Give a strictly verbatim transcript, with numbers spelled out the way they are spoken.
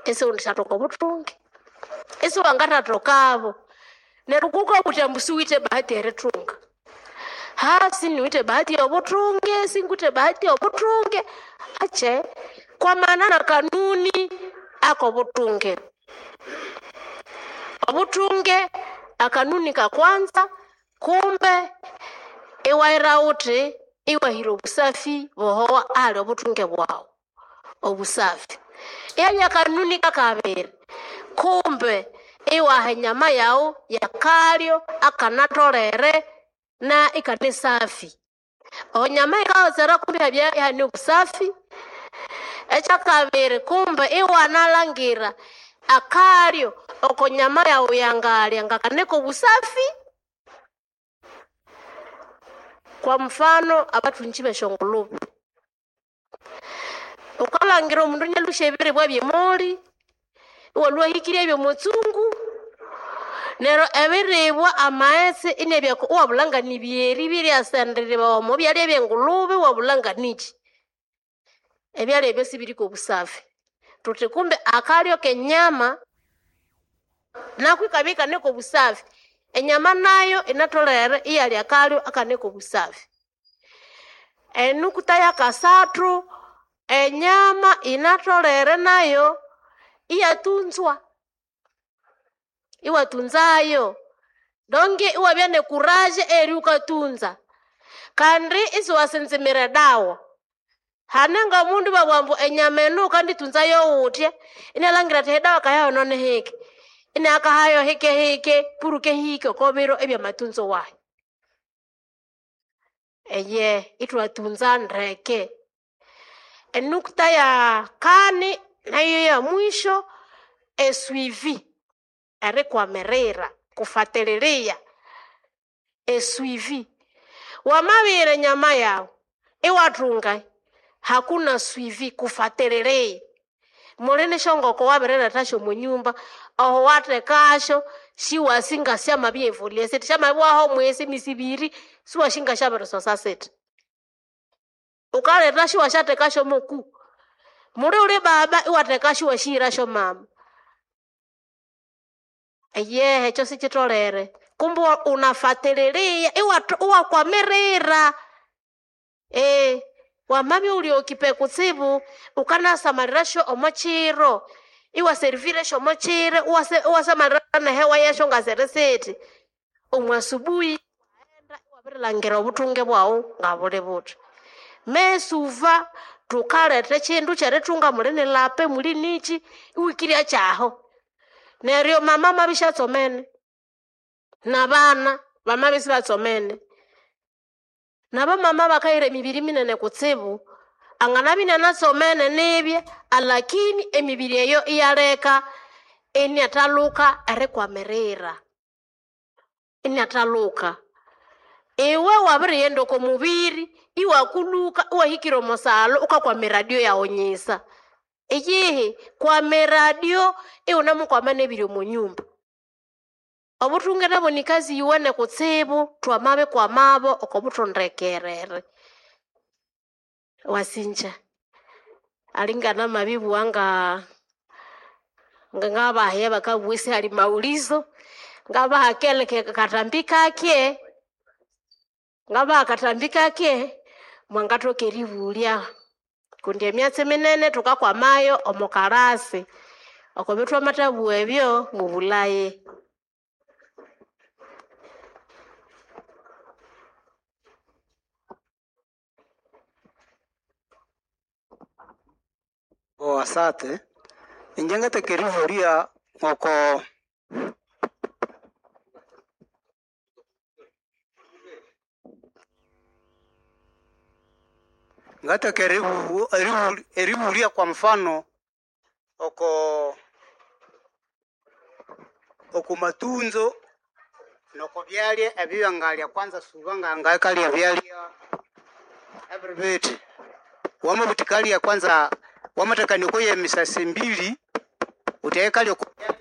Isiwendishathoka obuthunge, isiwangathathokabo. Neryo kukabutha ambu siwithe bahati erithunga. Ha siniwithe bahati yobuthunge, singwithe bahati yobuthunge, ache kwamana na kanuni akobuthunge. Obuthunge akanuni kakwanza kumbe iwayira wuthi iwahira obusafi bohowa ahali obuthunge bwaghu, obusafi. Ihabya akanuni kakabiri, kumbe iwaha enyama yaghu yakalyo akanatholere na ikane safi. Enyama yikaghotserwa kumbe ihabya ihane obusafi. Ekyakabiri kumbe iwanalhangira akalyo oko nyama yaghu yangalya ngakane kobusafi. Kwa mfano abathungyi besyongulube, wukalhangira omundu inalhusya ebiribwa byemoli, iwalhwa iwahikirya byomutsungu, neryo ebiribwa amaghetse inabya iwabulha nganibyeri biryasenderibawa omo byalya byengulube iwabulha nganikyi. Ebyalya ebyo sibiri kobusafi. Thuthi kumbe akalyo kenyama nako ikabya ikane kobusafi. Enyama nayo inatholere iyalya akalyo akane kobusafi. Enukuta yakasathu, enyama yinatholere nayo iyatunzwa, iwatunzayo. Donge iwabya nekuraje eyeribya wukatunza kandi isiwasinzimira edawa. Hane ngomundu ibabugha ambu enyama enu wukanditunzayo wuthya, inalhangira athi edawa kayahono nihike, inakahayo hikehike puruke ihike oko biro ebyamatunzo wayi. Eyehe ithwatunza ndeke. Enukuta yakani nayo yomwisho, esuivi, erikwamirira, kufatililia, esuivi. Wamabihira enyama yaghu iwathunga, hakuna suivi, kufatililia. Muli nesyongoko wabirilethasyo omwanyumba, aho wathekasyo siwasi ngasyamabya evoluer sithi, syamabyaho omwesi emyesi ibiri siwasi ngasyabirisosa sithi. Wukalethasyo iwasyathekasyo moku. Muli wuli baba iwathekasyo iwasyahirasyo mama. Eyehe ekyo sikyitholere. Kumbe unafatililia iwathu iwakwamirira. Eghe wamabya iwuli occupé kutsibu, wukanasamalirasyo omokyiro, iwaservire syomokyiro, iwase iwasamalira nehewa yasyo ngasiri sithi. Omwa subuhi iwaghenda iwabirilhangira obuthunge bwaghu ngabuli buthi. Mesuva thukaletha ekyindu kyerithunga muli nilape, muli nikyi, iwikirya kyaho. Neryo mama amabya isyatsomene, nabana bamabya isibatsomene, nabamama bakahira emibiri minene kutsibu, anganabya inanatsomene nibya alakini emibiri eyo iyaleka inathalhuka erikwamirira, inathalhuka. Iwe wabirighenda oko mubiri iwakulhuka iwahikira omo salo wukakwama eradio yaghu nyisa. Iyihi, kwama eradio iwunemukwama nebiri omo nyumba. Obuthunge nabwo nikazi yuwene kutsibu thwamabikwamabo oko buthondekerere. Wasinja, alinganamabibugha nga ngabaha abakabugha isihali maulizo, ngabaha keleke kathambi kake, ngabaha akathambi kake mwangathoka eribulya kundi emyatsi minene thukakwamayo omo kalasi. Okobya thwamathabugha ebyo mubulhaye. Oh, asante. Inje ngatheka eribulya ngoko ngatheka eribu eribu eribulya kwa mfano oko oko matunzo noko byalya ebyangalya kwanza suba ngangakalya ebyalya ebiri bithi. Wamabuthikalya kwanza wamathakania oko yemisasi mbili wuthi eyikalya oko.